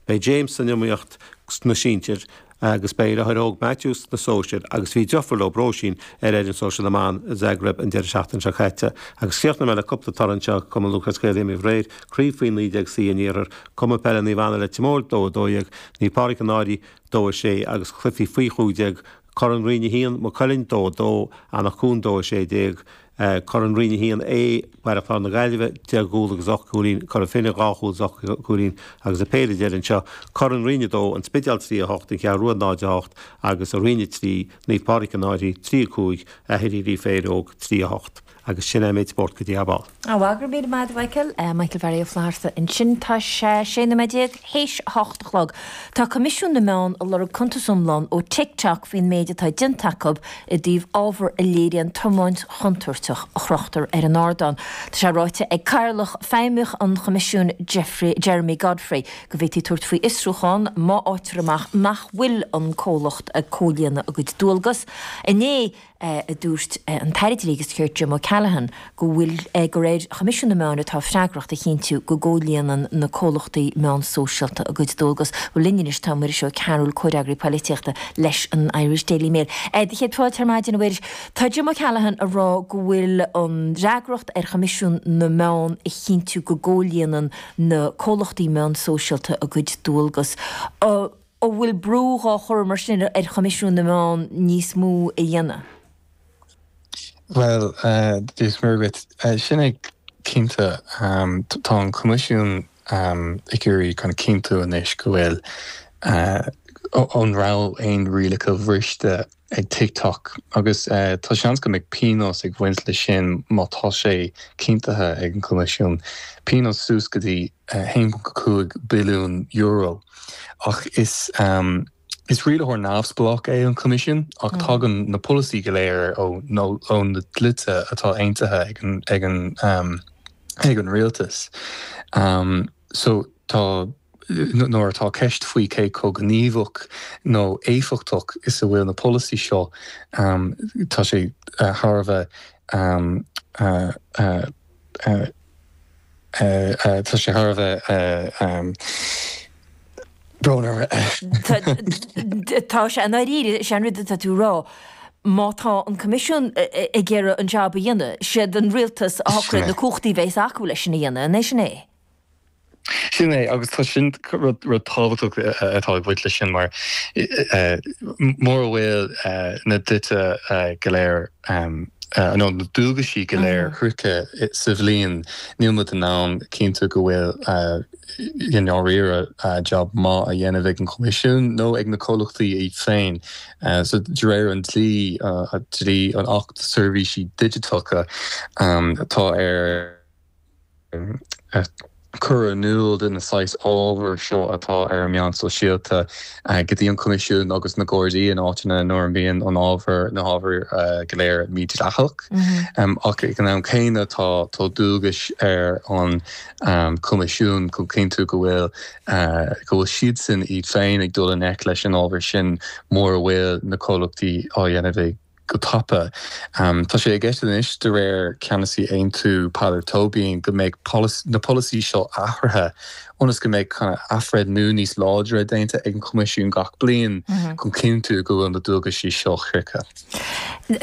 Beidh James san iomaíocht sna sinsir agus beidh a dheartháir óg Matthew sna sóisir agus bhí deirfiúr leo Róisín ar fhoireann sóisir na mban i Zagreb an deireadh seachtaine seo caite. Agus críochnóidh mé le cúpla toradh anseo, Cumann Lúthchleas Gael imrithe aréir, Craobh Faoi 19C an Iarthair, Cumann Peile Naomh Anna Leitir Móir 2 12, Naomh Pádraig an Fhairche 2 6 agus cluichí Faoi 15, Corn Roinn 1, Maigh Cuilinn 2 2, Anach Cuain 2 16, Corn Roinn 1A, Baile Chláir na Gaillimhe, 10 gcúl agus 8 gcúilín, Cora Finne, 2 chúl is 8 gcúilín agus an péire deiridh anseo, Corn Roinn 2, An Spidéal 3, 8, An Cheathrú Rua 0, 8 agus i Roinn 3, Naomh Pádraig an Fhairche 3, 5, Aithrí Féileog 3, 8. Agus sin é an méid spóirt go dtí ab ann. Á, go raibh míle maith agat a Mhichael. Michael Bharry Ó Flatharta ansin. Tá sé 16 nóiméad théis a hocht a chlog. Tá Coimisiún na Meán ag lorg cuntas iomlán ó TikTok faoin méid atá déanta acu i dtaobh ábhar a léiríonn tiomáint chontúirteach a chrochtar ar an ardán. Tá sé ráite ag Cathaoirleach Feidhmeach an Choimisiúin Jeffrey Jeremy Godfrey go bhféadfaí tabhairt faoi fhiosrúchán má fhaightear amach nach bhfuil an comhlacht ag comhlíonadh a gcuid dualgas. Inné a dúirt an tAire Dlí agus Cirt Jim O'Callaghan go bhfuil gur ar Choimisiún na Meán atá freagracht a chinntiú go gcomhlíonann na comhlachtaí meán sóisialta a gcuid dualgas. Bhuel linn anois tá Muiris Ó Cearúil, comhfhreagraí polaitíochta leis an Irish Daily Mail. Do chéad fáilte ar maidin, a Mhuiris. Tá Jim O'Callaghan ag rá go bhfuil an fhreagracht ar Choimisiún na Meán a chinntiú go gcomhlíonann na comhlachtaí meán sóisialta a gcuid dualgas. An bhfuil brú dhá chur mar sin ar Choimisiún na Meán níos mó a dhéanamh? Bhuel, Dia is Muire dhuit. Sin é cinnte. Tá an Coimisiún ag iarraidh kind of cinntiú anois go bhfuil, an raibh aon rialacha bhriste ag TikTok agus tá seans go mbeidh pionós ag bhaint leis sin má tá sé cinntithe ag an Coimisiún, pionós suas go dtí €1.5 billiún. Ach is is rialaitheoir neamhspleách é an Coimisiún ach tagann na polasaí go léir ó ó na dlíthe atá aontaithe ag an ag an ag an rialtas. So tá. Nuair atá ceist faoi cé chomh gníomhach nó éifeachtach is a bhfuil na polasaí seo, tá sé thar a bheith tá sé thar a bheith brón orm. Tá sé i ndáiríre, is é an rud atá tú a rá, má tá an Coimisiún ag iarraidh an jab a dhéanamh, siad an rialtas a shocraíonn na cumhachtaí a bheas acu leis sin a dhéanamh, an é sin é? Sin é, agus tá sin rud tábhachtach atá ag baint leis sin mar mura bhfuil na dlíthe go léir nó na dualgaisí go léir shroichte sa bhliain, níl muid in ann cinntiú go bhfuil i ndáiríre jab maith á dhéanamh ag an Choimisiún nó ag na comhlachtaí iad féin. So de réir an dlí, dlí an Acht Seirbhísí Digiteacha, tá ar. cur in iúl de na saghas ábhair seo atá ar an meán sóisialta go dtí an Coimisiún agus na Gardaí in áiteanna nuair a mbíonn an ábhar, na hábhair go léir mídhleathach. Ach ag an am céanna tá tá dualgais ar an Coimisiún chun cinntiú go bhfuil go bhfuil siadsan iad féin ag dul i ngleic leis an ábhar sin mura bhfuil na comhlachtaí á dhéanamh ag go tapa. Tá sé i gceist anois, de réir ceannasaí Aontú Peadar Tóibín, go mbeidh na polasaí seo athraithe ionas go mbeidh athbhreithniú níos láidre déanta ag an Choimisiún gach bliain chun cinntiú go bhfuil na dualgaisí seo shroichte.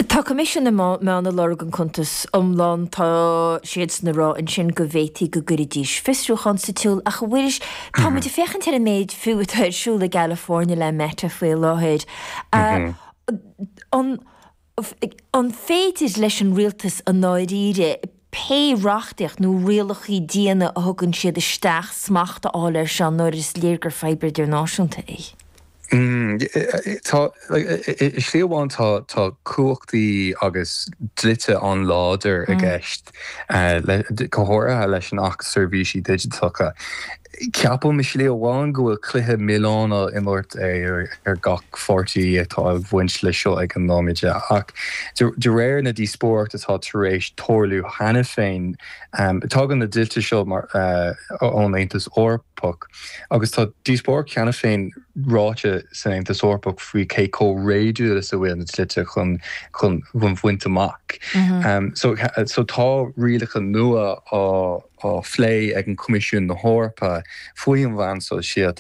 Tá Coimisiún na Meán ag lorg an cuntas iomlán. Tá siadsan ag rá ansin go bhféadfaí go gcuirfidís fiosrúchán sa tsiúl ach a Mhuiris, tá muid ag féachaint ar an méid fiú atá ar siúl i gCalifornia le Meta faoi láthair. An an féidir leis an rialtas i ndáiríre pé reachtaíocht nó rialacha diana a thugann siad isteach smacht a fháil air seo nuair is léir gur fadhb idirnáisiúnta é? Tá, i slí amháin tá tá cumhachtaí agus dlíthe an-láidir i gceist, go háirithe leis an Acht Seirbhísí Digiteacha. Ceapaim i slí amháin go bhfuil cluiche milleáin á imirt ar gach pháirtí atá ag bhaint leis seo ag an nóiméad ach de réir na díospóireacht atá tar éis tarlú cheana féin, tagann na dlíthe seo ón Aontas Eorpach agus tá díospóireacht cheana féin ráite san Aontas Eorpach faoi cé chomh réadúil is a bhfuil na dlíthe chun chun bhaint amach. So tá rialacha nua á. á phlé ag an Coimisiún na hEorpa faoi an mheán sóisialta.